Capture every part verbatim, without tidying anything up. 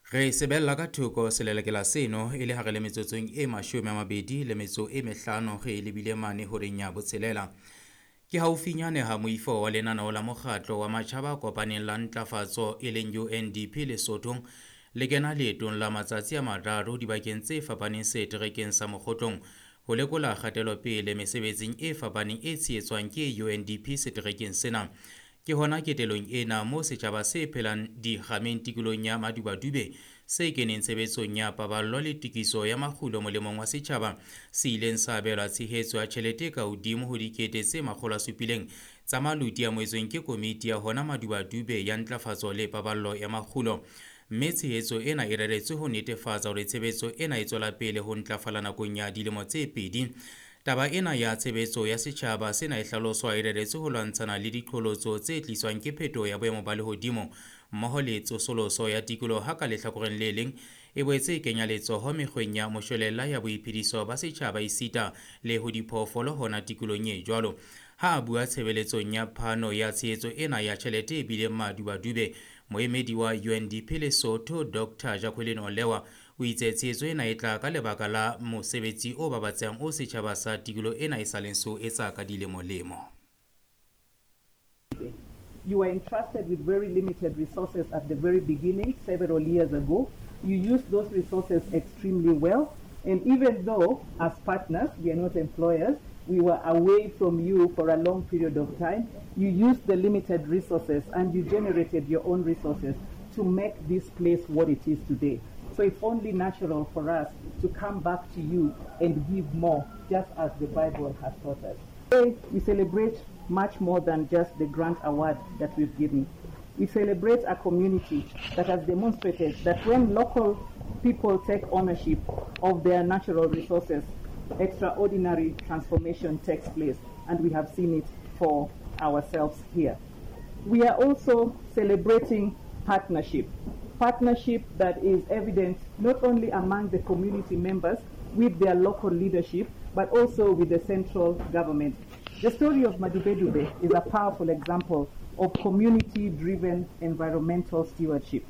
Re sebella ka thoko selelekela seno e le hare le metsotsong e mashome a mabedi le metso e mehlano re lebile mane horeng ya botshelela. Ke haufinyane ha moifo wa lenaneo la mokgatlo wa matjhaba a kopaneng la ntlafatso e leng U N D P Lesothong le kena leetong la matsatsi a mararo dibakeng tse fapaneng seterekeng sa Mokgotlong ho lekola kgatelopele mesebetsing e fapaneng e tshehetswang ke U N D P seterekeng sena. Ke hona ketelong ena moo setjhaba se phelang dikgameng tikolong ya Madubadube se keneng tshebetsong ya paballo le tokiso ya makgulo molemong wa setjhaba se ileng sa abelwa tshehetso ya tjhelete ka hodimo ho dikete tse makgolo a supileng tsa maluti a amohetsweng ke komiti ya hona Madubadube ya ntlafatso le paballo ya makgulo. Mme tshehetso ena e reretswe ho netefatsa hore tshebetso ena e tswela pele ho ntlafala nakong ya dilemo tse pedi. Taba ena ya tshebetso ya setjhaba sena e hlaloswa e reretswe ho lwantshana le diqholotso tse tliswang ke phetoho ya boemo ba lehodimo mmoho le tsosoloso ya tikoloho ha ka lehlakoreng le leng e boetse e kenya letsoho mekgweng ya moshwelella ya boiphediso ba setjhaba esita le ho diphoofolo hona tikolohong e jwalo. Ha a bua tshebeletsong ya phano ya tshehetso ena ya tjhelete e bileng Madubadube, moemedi wa U N D P Lesotho Doctor Jacqueline Olewa o itse tshehetso ena e tla ka lebaka la mosebetsi o babatsehang o setjhaba sa tikoloho ena e sa leng so etsa ka dilemolemo. You were entrusted with very limited resources at the very beginning, several years ago. You used those resources extremely well. And even though, as partners, we are not employers, we were away from you for a long period of time, you used the limited resources and you generated your own resources to make this place what it is today. So it's only natural for us to come back to you and give more, just as the Bible has taught us. Today, we celebrate much more than just the grant award that we've given. We celebrate a community that has demonstrated that when local people take ownership of their natural resources, extraordinary transformation takes place, and we have seen it for ourselves here. We are also celebrating partnership. Partnership that is evident not only among the community members with their local leadership, but also with the central government. The story of Madubedube is a powerful example of community-driven environmental stewardship.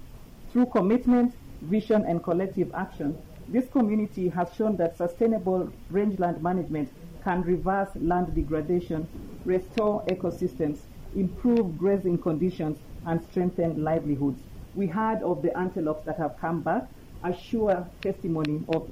Through commitment, vision, and collective action, this community has shown that sustainable rangeland management can reverse land degradation, restore ecosystems, improve grazing conditions, and strengthen livelihoods. We heard of the antelopes that have come back, a sure testimony of